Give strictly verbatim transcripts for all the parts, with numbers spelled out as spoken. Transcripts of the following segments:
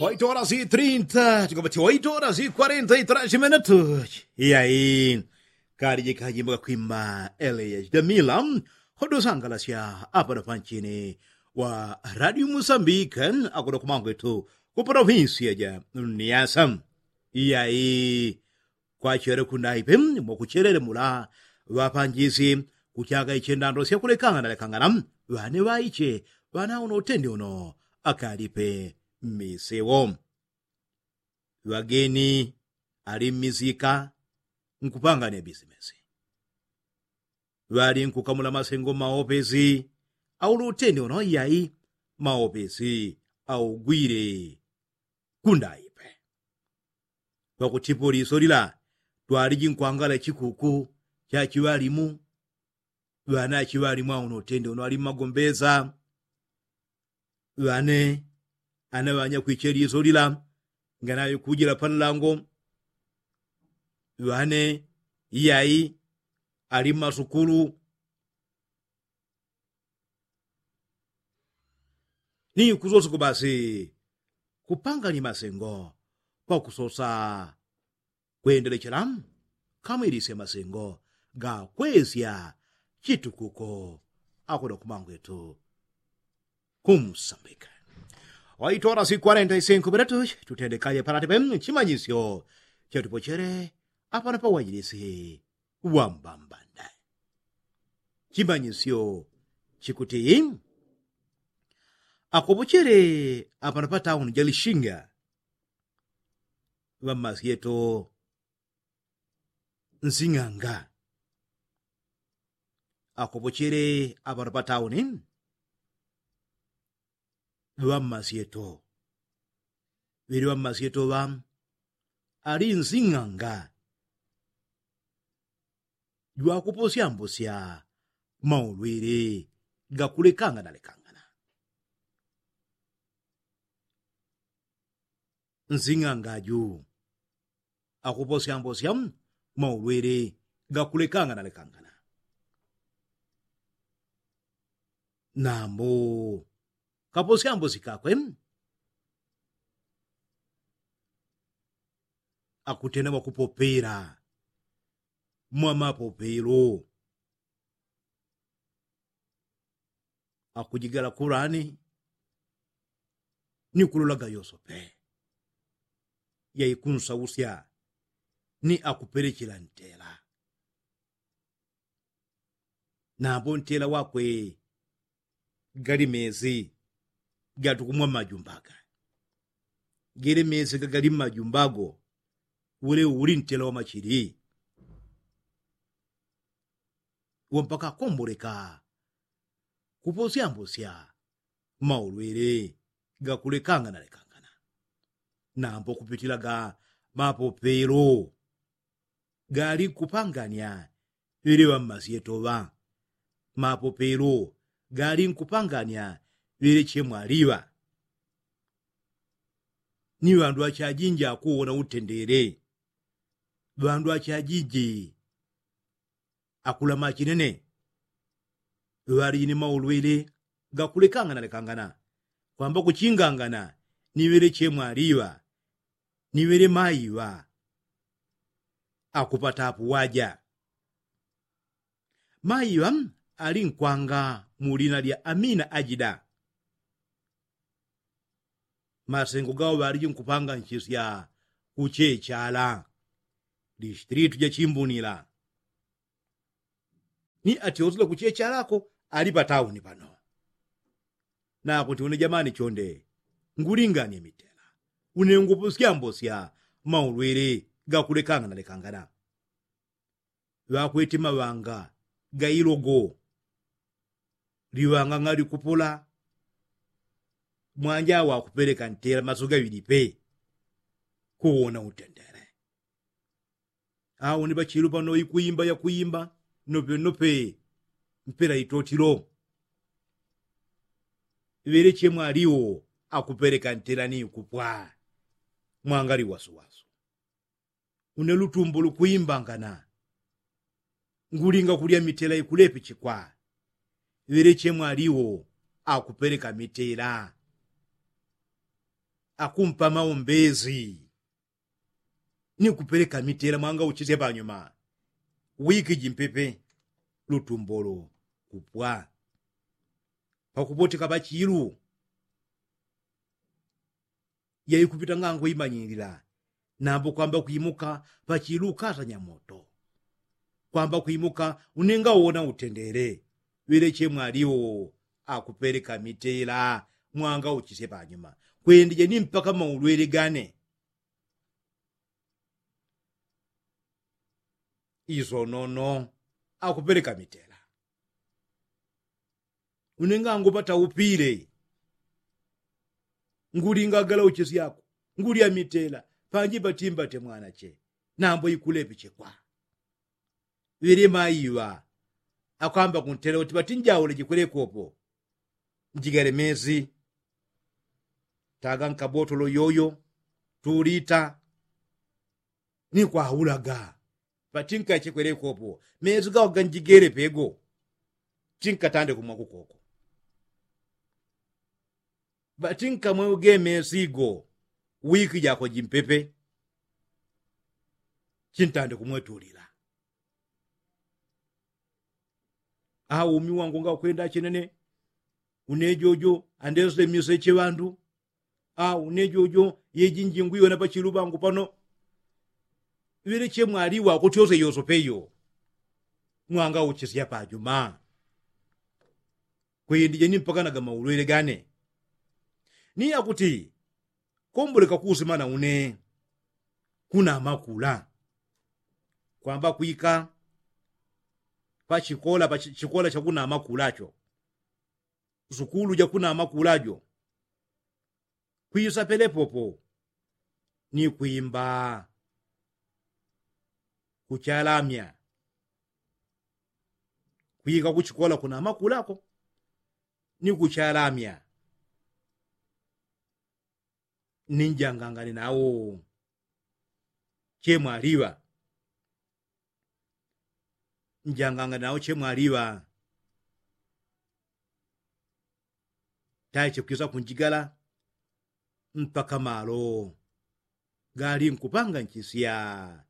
Oito horas i trinta tikapati oito horas i kwarenta i trasi minutu. Iyayi, kali jikajimbo kakwimba eleyasi damila. Hodosangalasya apano panchini wa radio musambike, akuno kumangwetu ku provinsia ja niasa. Iyayi, kwachele kundaipe mwakuchelele mula ŵapanjisi kuchaka iche ndando syakulekangana lekangana, ŵane ŵaiche ŵanauno utende uno akalipe mmisewo. Ŵageni ali mmisika nkupangania bisimesi, ŵali nkukamula masengo maopesi. Aulo utende uno iyayi, maopesi augwile kundaipe. Pakutipo liso lila twaliji nkwangala chikuku cha chiŵalimu. Ŵane achiŵalimu auno utende uno ali mmagombesa. Ŵane ana ŵanyakwiche liso lila nganaŵikujila panlango. Ŵane iyayi ali mmasukulu. Ni kusoseko basi kupangani masengo pakusosa kwendelechela kamwilisya masengo gakwesya chitukuko akuno kumangwetu kumsambika. Oito horas i kwarenta i sinku minutu tutendekaje palatipe chimanyisyo chatupochele apano pawajilisi wambambanda. Chimanyisyo chikuti akopochele apano patauni jalishinga ŵammasyeto nsing'anga. Akopochele apano patauni ŵammasyeto ŵili ŵammasyeto ŵa ali nsing'anga jwakuposyambosya maulwili gakulekangana lekangana. Nsing'anga ju akuposyambosya maulwili gakulekangana lekangana. Nambo kaposyambosi kakwe akutenda mwakupopela mwamapopelo. Akujigala kulani ni kulolaga yosope yaikunsausya ni akupelechela ntela. Nambo ntela wakwe gali mezi gatukumwa mmajumbaga. Gele mezi gagali mmajumbago ule uli ntela wamachili. Uwo mpaka akomboleka kuposyambosya maulwele gakulekangana lekangana. Nambo kupitilaga mapopelo gali nkupangania ŵele ŵammasyeto ŵa mapopelo gali nkupangania ŵele chemwaliŵa. Ni ŵandu achajinji akuwona utendele ŵandu achajinji akula machinene ŵaliji ni maulwele gakulekangana lekangana kwamba kuchingangana ni ŵele chemwaliŵa ni ŵele maiŵa. Akupatapo waja maiŵa ali nkwanga mu lina lya amina ajida. Masengo gawo ŵaliji nkupanganchisya kuchechala distritu ja chimbunila. Ni atyosile kuchechalako ali patauni pano. Nakuti une jamani chonde ngulinganie mitela une nguposyambosya maulwele gakulekangana lekangana. Ŵakwete maŵanga gailogo liŵanga ng'alikupula mwanja wakupeleka ntela maso gaŵili pe. Kuwona utendele awo ni ŵachilu pano ikuimba yakuimba nope nope mpela itotilo. Ŵeleche mwaliwo akupeleka ntela ni ikupwa mwangali wasuwasu. Une lutumbo lukuimbangana ngulinga kulya mitela ikulepechekwa. Ŵeleche mwaliwo akupeleka mitela. Akumpa maombezi ni kupeleka mitela mwanga uchisya panyuma. Wiki jimpepe lutumbolo kupwa pakupoteka pachilu. Yaikupita ngango imanyilila nambo kwamba kwimuka pachilu ukasanya moto. Kwamba kwimuka unenga uwona utendele. Weleche mwaliwo akupeleka mitela mwanga uchisye panyuma. Kwendije ni mpaka maulwele gane izo nono akupeleka mitela. Unenga ngupata upile ngulingagala uchesyako ngulya mitela panji patimbate mwanache. Nambo ikulepichekwa ŵelema iŵa akwamba kuntela uti patinjaule jikwelekopo. Njigale mezi taga nkabotolo yoyo tulita ni kwaulaga. Patinka chekwelekopo mezi gawaga njigele pego chinkatande kumwa kukoko. Patinka mweuge mezi go wiki jako jimpepe chintande kumwetulila. Au umi wangu ngakwenda chenene. Unejojo andesule miseche ŵandu. Au unejojo yeji njingu iwena pachilu ŵangu pano. Ŵeleche mwaliwa kuti yose yosope iyo mwanga uchisya pajuma. Kwindije ni mpaka nagamaulwele gane ni yakuti komboleka kuusimana une. Kunamakula kwamba kwika pachikola pachikola chakunamakula cho sukulu jakunamakula jo kwisa pelepopo ni kwimba kuchalamya. Kwika kuchikola kunamakulako ni kuchalamya. Ninjangangane nawo chemwaliŵa. Njangangane nawo chemwaliŵa. Taiche kwisa kunjigala mpaka malo gali nkupanga nchisya.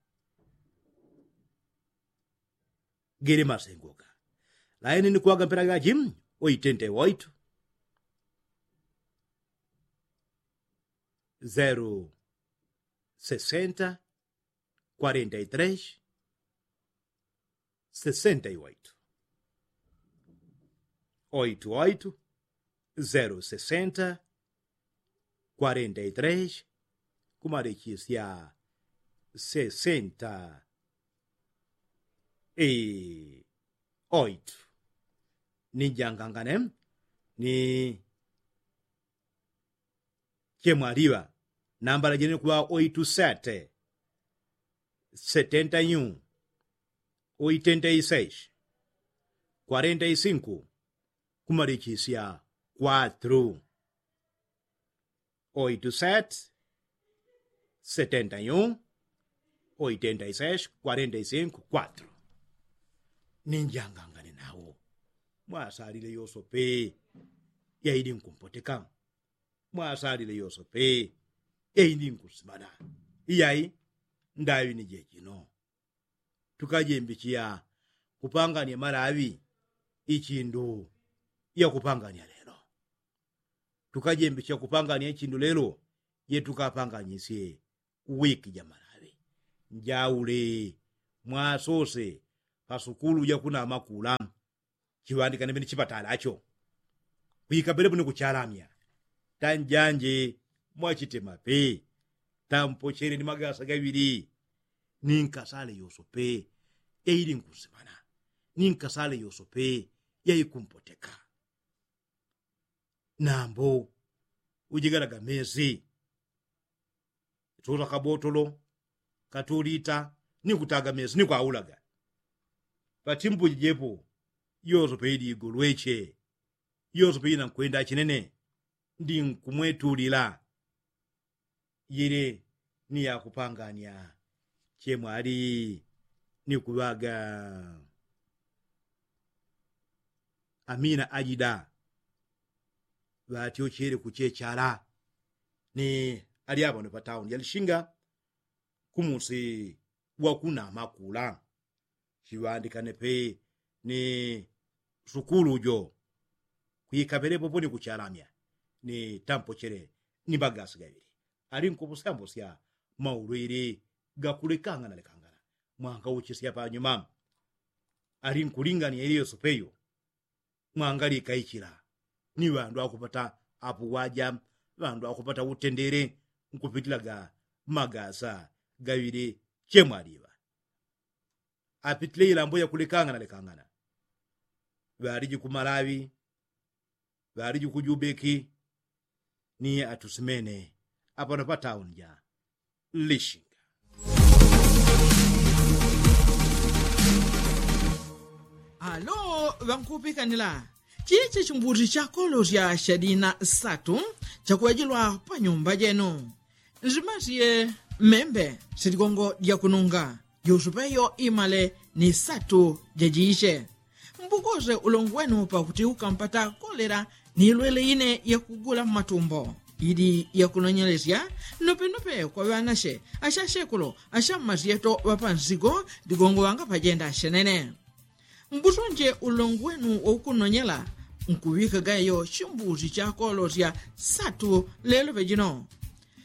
Gele masengoka laini ni kuwaga mpela gaji oitente waitu. Zero sesenta kwarenta i tres sesenta i waitu. Oitu oitu zero sesenta kwarenta i tres kumalichisya sesenta i oitu. Ni njangangane ni chemwaliŵa nambala jene kuŵa oitu sete setenta i un oitenta i seis kwarenta i sinku kumalichisya kwatru. Oitu sete setenta i un oitenta i seis kwarenta i sinku kwatru. Ni njangangane nawo mwasalile yosope yaili nkumpoteka. Mwasalile yosope yaili nkusimana. Iyai ndaŵi ni jejino tukajembichiya kupangania malaŵi ichindu yakupangania lelo. Tukajembichiya kupangania ichindu lelo yetukapanganyisye wiki ja malaŵi. Njaule mwasose pasukulu jakunamakula chiŵandikane pene chipatalacho kwika pelepo ni kuchalamya. Tanjanje mwachitemape tampochele ni magasa gaŵili. Ninkasale yosope yaili nkusimana. Ninkasale yosope yaikumpoteka. Nambo ujigalaga mesi tuta kabotolo katulita ni kutaga mesi ni kwaulaga. Patimbuji jepo yosope ili igolweche yosope ina nkwenda chinene. Ndi nkumwetulila yili ni yakupangania chemwali ni kuŵaga. Amina ajida ŵatyochele kuchechala ni ali apano pa tauni ya lishinga kumusi wa kunama kula. Chiŵandikane pe ni sukulu jo kwikapelepo poni kuchalamya ni tampochele ni magasi gaŵili ali nkupusyambusya maulwili gakulekangana lekangana. Mwangauchisya panyuma ali nkulingania ili yosopeyo mwangalikaichila ni ŵandu akupata apuwaja ŵandu akupata utendele nkupitilaga magasa gaŵili chemwaliŵa apitile ilambo yakulekangana lekangana. Ŵaliji kumalaŵi ŵaliji kujubeki ni atusimene apano pa tauni ja lishinga. Alo ŵankupikanila chichi chimbuti chakolosya shadina satu chakuŵajilwa pa nyumba jenu. Nzimasye membe siligongo lyakununga jusupeyo imale ni satu jajiche. Mbukose ulongu wenu pakuti ukampata kolela ni ilwele ine yakugula mmatumbo ili yakunonyelesya nopenope kwa ŵanashe ashashekulo ashammasyeto ŵapansigo ligongo ŵangapajenda shenene. Mbusonje ulongu wenu waukunonyela nkuŵikaga yo chimbusi chakolosya satu lelo pejino.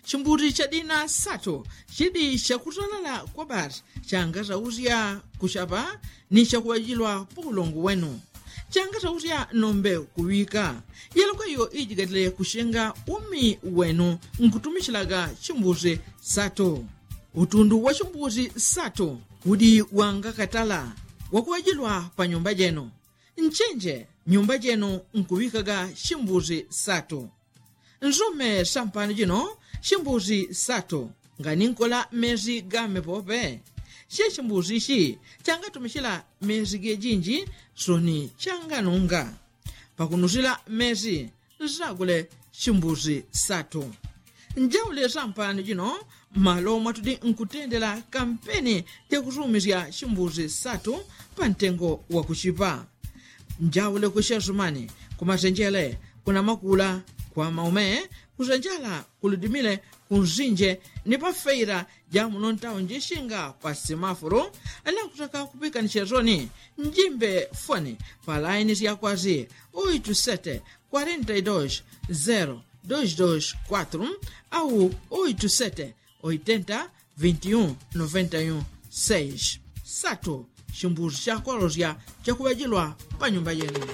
Chimbusi chadina satu chidi chakutalala kwa basi changasausya kuchapa ni chakuŵajilwa pa ulongu wenu. Changasausya nombe kuŵika yelokweyo ijigatile kuchenga umi wenu nkutumichilaga chimbusi satu. Utundu wa chimbusi satu udi wangakatala wakuŵajilwa pa nyumba jenu. Nchenje nyumba jenu nkuŵikaga chimbusi satu. Nsume sampano jino chimbusi satu nganinkola mesi game pope. Che chimbusi ichi changatumichila mesi gejinji soni changanunga pakunusila mesi nsagule chimbusi satu. Njaule sampano jino malo mwatudi nkutendela kampeni jakusumisya chimbusi satu pa ntengo wakuchipa. Njaule kushesumani kumasenjele kunamakula kwa maume kusenjala kuludimile kunsinje ni pafeila jamuno ntaunji shinga pa simafulu. Nakutaka kupikanisya soni njimbe foni pa laini syakwasi oitu sete kwarenta i dos zero dos dos kwatru au oitu sete oitenta vinti un noventa i un seis. Satu chimbusi chakolosya chakuŵajilwa pa nyumba jenu.